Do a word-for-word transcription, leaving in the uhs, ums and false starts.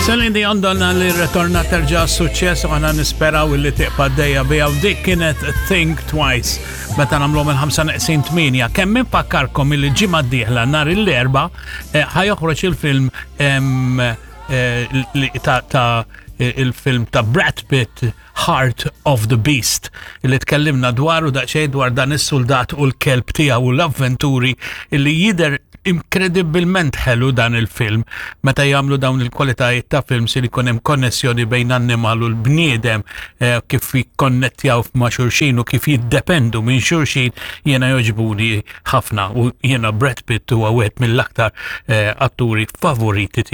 Celine Dion donna li retorna terġa' suċċess u aħna nisperaw li tibqa' għaddejja biha u dik kienet Think Twice meta nagħmlu minn ħamsa neqsin tmienja. Kemm infakkarkom il ġimgħa d-dieħla nhar l-Erbgħa eh, ħa joħroġ il-film em, eh, li- ta' ta' il-film ta' Brad Pitt, Heart of the Beast, li tkellimna dwaru daqsxejn, dwar dan is-soldat u l-kelb tiegħu u l-avventuri, illi jidher inkredibilment ħelu dan il-film. Meta jagħmlu dawn il-kwalitajiet ta' films li jkun hemm konnessjoni bejn annimal u l-bniedem, eh, kif jikkonnettjaw ma' xulxin u kif jiddependu minn xulxin, jiena jogħġbuni ħafna u jiena Brad Pitt huwa wieħed mill-aktar eh, atturi favoriti.